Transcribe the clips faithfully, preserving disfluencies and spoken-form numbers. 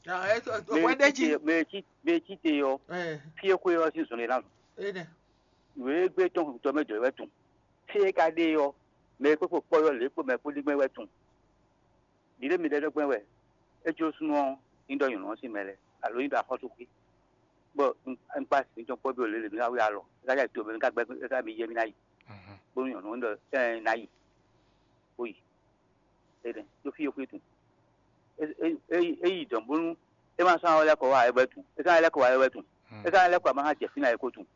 Hwɛ ɖé jí. Mɛ e cí te ɔ́, fí e xwé ɔ́ sín zɔn lě ná zɔn. Nǔ e gbé tɔn tɔ mɛ jɔ wɛ tun. Fí e ka ɖe ɔ́, mɛ e kpé kpo kpɔ́ yɔ lě kpo mɛ kpó ɖígbɛ́n wɛ tun. Ɖiɖe mi ɖɛ ɖɔgbɛ́n wɛ, é jó súnnu ɔ́, ní ɖɔ nyɔ̌nu ɔ́ sín mɛ lɛ́ɛ, alo ní ɖɔ axɔ́súxwé, bɔ un kpá sin tɔn kpɔ́ bí o lě lě mì wá wí alɔ, é ka jɛ to mɛ mì ka gbɛ́ é ka mi yɛ mì ná yi, bónú nyɔ̌nu ɔ́ ɖɔ ɛ ná yi, bó yi. Énɛ́ ɖó fí e xwé tun. É yi dɔ̌n bónú é ma sɔ́ ná lɛ́ kɔ wá ayɛ́ tun, é ka ná lɛ́ kɔ wá ayɛ́ tun, é ka ná lɛ́ kɔ ama ná jɛ fínɛ́ ayǐ ko tun.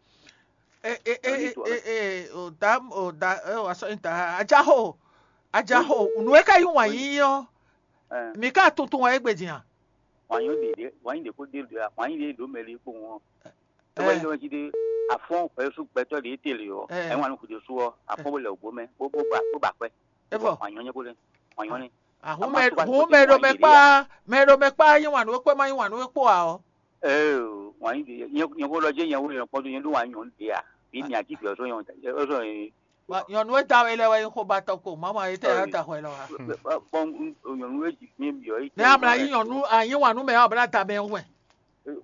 Ee, ee, ee, ee, ee, o da, o da, ee, o asɔ nyi da, ajaxo, ajaxo, nǔ e ka yí wǎn yíyí ɔ́, mi ka tuntun wɛ égbé din a? Wǎn yí ɖě, wǎn yí ɖě kó ɖe ɖě a, wǎn yí ɖě ɖǒ mɛ ɖé kpowun ɔ́. É wɛ nyí ɖɔ jí ɖé, afɔ́n hwɛsú gbɛtɔ́ ɖě tele ɔ́, é wǎn nú xwǐɖé sú ɔ́, afɔ́n bó lɛ wǒ mɛ, bó bó ba bó ba kwɛ́. É vɔ. Wǎn nyɔ́ nyɛ bó lɛ́, wǎn nyɔ́ nɛ́. Ahun mɛ hun mɛ ɖo mɛ kpa, mɛ ɖo mɛ kpa yí wǎn nú é kpó é ma yí wǎn nú é kpó ǎ ɔ́. Ee, wǎn nyí ɖě, nyɛ nyɛ xó ɖɔ jẹ́ nyɛ wó nyɛ kpɔ́n dó nyɛ ɖó wǎn nyɔ́ ɖě a, bǐ mi ají gbɛ ɔ́ sɔ́ nyɔ́ ɔ́. Nyɔ̌nu e da we lɛ́ɛ wɛ nyí xó ba tɔn ko, mama e tɛ ya da hwɛ lɔ wa. Bɔn nyɔ̌nu e jǐ fín byɔ́ yi. Ne amla yí nyɔ̌nu, a yí wǎn nú mɛ ɔ́, a bla da mɛ wɛ.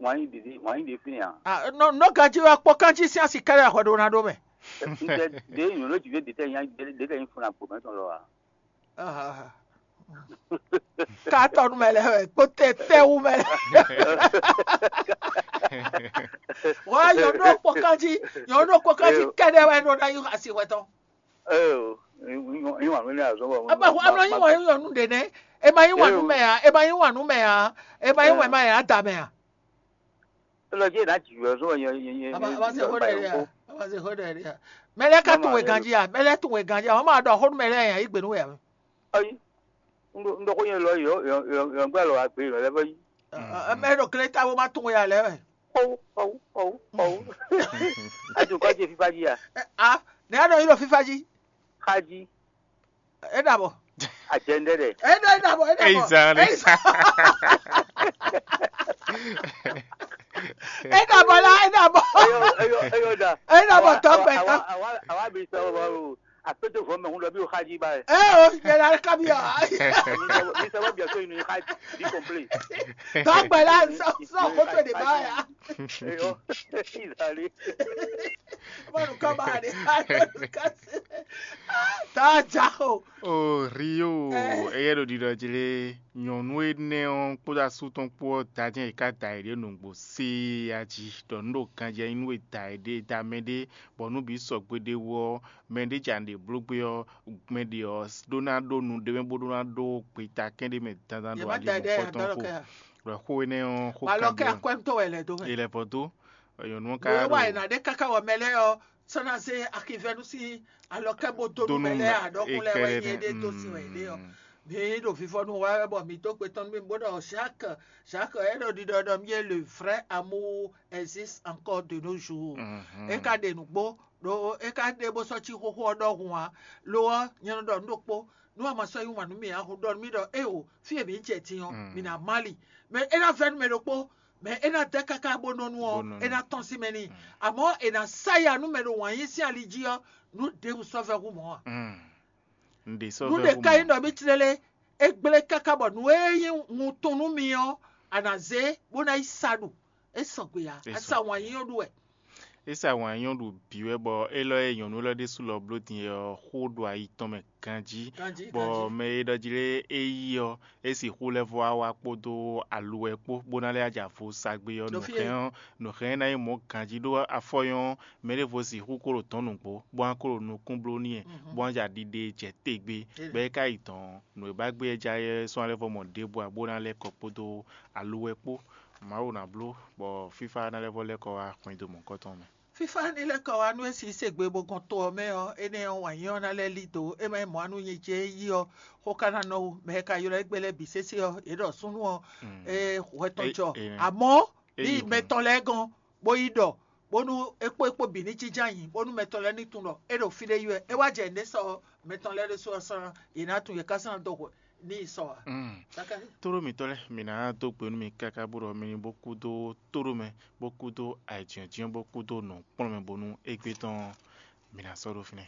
Wǎn nyí ɖě, wǎn nyí ɖě fín a. Ah, nɔ nɔ ganji wɛ kpɔ kanji sín asi kɛlɛ hwɛ ɖo na ɖó mɛ. Ntɛ ɖě nyɔ̌nu e jǐ fín ɖě tɛ nyí ɖě tɛ nyí fún agbo mɛ tɔn lɔ a. Ka tɔ nú mɛ lɛ́ɛ wɛ kpó tɛ tɛ wú mɛ lɛ́ɛ. Wá nyɔ̌nu kpɔ kanji, nyɔ̌nu kpɔ kanji kɛɖɛ wɛ nɔ ná yí asi hwɛ tɔn. Ee, nyí wǎn nú ní azɔn bɔ. Aba hu amlɔ yí wǎn yí nyɔ̌nu ɖě nɛ́. E ma yí wǎn nú mɛ ǎ, e ma yí wǎn nú mɛ ǎ, e ma yí wǎn ma ǎ da mɛ ǎ. Elɔ jẹ́ ìdájì wɛ zɔn yẹn yẹn yẹn. Aba aba se ho ɖe ya, aba se ho ɖe ya. Mɛ lɛ ka tun we ganji ya, mɛ lɛ tun we ganji ya, wọ́n máa ɖɔ xó nú mɛ lɛ yẹn yí gbé nú we ya. Ayi, n ɖɔ xó yẹn lɔ yɔ yɔ yɔ gbɛ lɔ agbe yɔ lɛ bɛ yi. Mɛ ɖo kle ta wo ma tun we ya lɛ wɛ. Xɔwu xɔwu xɔwu xɔwu. Adu kɔ jɛ fifa ji ya. A, ne ya ɖɔ yi ɖo fifa ji. Xa ji. E ɖa bɔ. Ajɛndɛ dɛ. E ɖa e ɖa bɔ e ɖa bɔ. Eyi zan ɖe. Eyi zan. E ɖa bɔ la e ɖa bɔ. Eyɔ eyɔ eyɔ da. E ɖa bɔ tɔ gbɛ tɔ. Awa awa awa bi sɔ bɔ o. Akpɛtɛ vɔ mɛ ŋun dɔ bi o xa ji ba yɛ. E o yɛ la ka bi a. Mi sɛ bɔ bi a so inu xa ji bi kɔnpile. Tɔ gbɛ la sɔ sɔ koto de ba ya. Eyɔ eyi zan ɖe. Mɔnu kɔ ba de. Tɔ ja o. O Rio, eyɛ ɖo ɖiɖɔ jí lé, nyɔ̌nu énɛ́ ɔ́ kpódó asú tɔn kpó ɔ́ da jɛ́n yě ká da yěɖée nǔgbó séé jí, ɖɔ nǔ ɖo ganjɛ nyí nú è da yěɖée da mɛɖé, bɔ nú bǐ sɔgbe ɖé wú ɔ́, mɛɖé ja nǔɖé bló gbé ɔ́, mɛ ɖě ɔ́ ɖó ná ɖó nu ɖé mɛ bó ɖó ná ɖó gbeta kɛ́n ɖé mɛ dandan ɖo ali mɔ̌kɔtɔn kpó. Ɖɔ xó énɛ́ ɔ́ xó Alɔ kɛ kangbɛ akwɛ́mtɔ́ wɛ lɛ dó mɛ. È lɛ vɔ dó. Nyɔ̌nu ɔ́ ka Nǔ e wa ɖo è nǎ ɖe káká wɔ mɛ lɛ́ɛ ɔ́, sɔ́ ná zé akivɛ́nu sín alɔkɛ́ bó dó nú mɛ lɛ́ɛ ǎ, ɖɔkun lɛ́ɛ wɛ nyɛ ɖé dó sin wɛ yě ɖe ɔ́. Mi ɖo vivɔnu wa wɛ bɔ mi dó gbe tɔn nú mì bó ɖɔ Jacques, Jacques é ɖo ɖiɖɔ ɖɔ mi é le vrai amour existe encore de nos jours. É ka ɖe nǔgbó ɖó é ka ɖe bó sɔ́ cí xóxó ɔ́ ɖɔhun ǎ. Lo ɔ́, nyɛ nɔ ɖɔ nǔ ɖokpó, nú a ma sɔ́ yí wǎn nú mì ǎ, hun ɖɔ nú mì ɖɔ éeǒ, fí e mǐ jɛ din ɔ́, mǐ ná má li. Mɛ é ná vɛ́ nú mɛ ɖokpó, mɛ é ná dɛ́ káká bó nɔ nu ɔ́, é ná tɔ́n sín mɛ n'i. Amɔ̌ è nǎ sá ya nú mɛ ɖo wǎn yí sín ali jí ɔ́, nǔ ɖěbǔ sɔ́ vɛ́ hú mɔ̌ ǎ. Nǔ ɖě ka nyí ɖɔ mì tlélé, é gblé káká bɔ nǔ e nyí wuntun nú mi ɔ́, a nǎ zé bó ná yi sa ɖu. É sɔgbe ǎ, a sa wǎn nyí ɔ́ ɖu wɛ. É sa wǎn nyí ɔ́ ɖu bǐ wɛ bɔ élɔ́ e nyɔ̌nu élɔ́ ɖésú lɔ bló din é ɔ́ xó ɖo ayi tɔn mɛ ganjí, bɔ mɛ e ɖɔ jí lé é yí ɔ́, é sixú lɛ́ vɔ wá wá kpódó aluwɛ kpó, bó ná lɛ́ wá jɛ avo sa gbé ɔ́, nǔ hɛn ɔ́, nǔ hɛn ná nyí mɔ̌ ganjí ɖó afɔ nyɔ́ ɔ́, mɛ ɖěvo sixú ko ɖo tɔ̌n nǔgbó, bó wá ko ɖo nukún bló n'i, bó wá jɛ ɖiɖe jɛ te gbé, bɔ é ka yi dɔ̌n, nǔ e ba gbé é ja é sɔ́ ná lɛ́ vɔ mɔ ɖěbǔ ǎ, bó ná lɛ́ kɔ kpódó aluwɛ kpó. Mawu ná bló bɔ fífá ná lɛ́ vɔ lɛ́ kɔ wá hwɛndo mɔ̌hunkɔtɔn mɛ. Fífá ní lɛ́ kɔ wá nú é si sɛgbe bó gɔn to ɔ́ mɛ ɔ́, énɛ́ ɔ́ wǎn nyínyɔ́ ná lɛ́ lí dǒ, é má nyí mɔ̌ anu nyi jɛ é yí ɔ́, xó ka ná nɔ wú, mɛ e ka ylɔ́ égbé lɛ́ɛ bǐ sésé ɔ́, yě ɖɔ súnnu ɔ́, é hwɛ tɔn jɔ. Amɔ̌ ní yi mɛ tɔn lɛ́ɛ gɔ́n, bó yi ɖɔ, bónú é kpó é kpó bǐ ní jínjɔ́n ayǐ, bónú mɛ tɔn lɛ́ɛ ní tunwun ɖɔ é ɖo fí ɖé yi wɛ. É wá jɛ nǔɖé sɔ mɛ tɔn lɛ́ɛ ɖésú ɔ́ sɔ́ ná, yě ná tunwun, yě ka sɔ́ ná dó hwɛ ní yi sɔ ǎ. Tóɖó mǐtɔn lɛ́ɛ, mǐ ná dó gbe nú mi káká bó ɖɔ mi ní bó kúdó tóɖó mɛ, bó kúdó ayǐjínjɔ́n, bó kúdó nǔkplɔ́n mɛ, bónú égbé tɔn ɔ́, mǐ ná sɔ́ ɖó fínɛ́.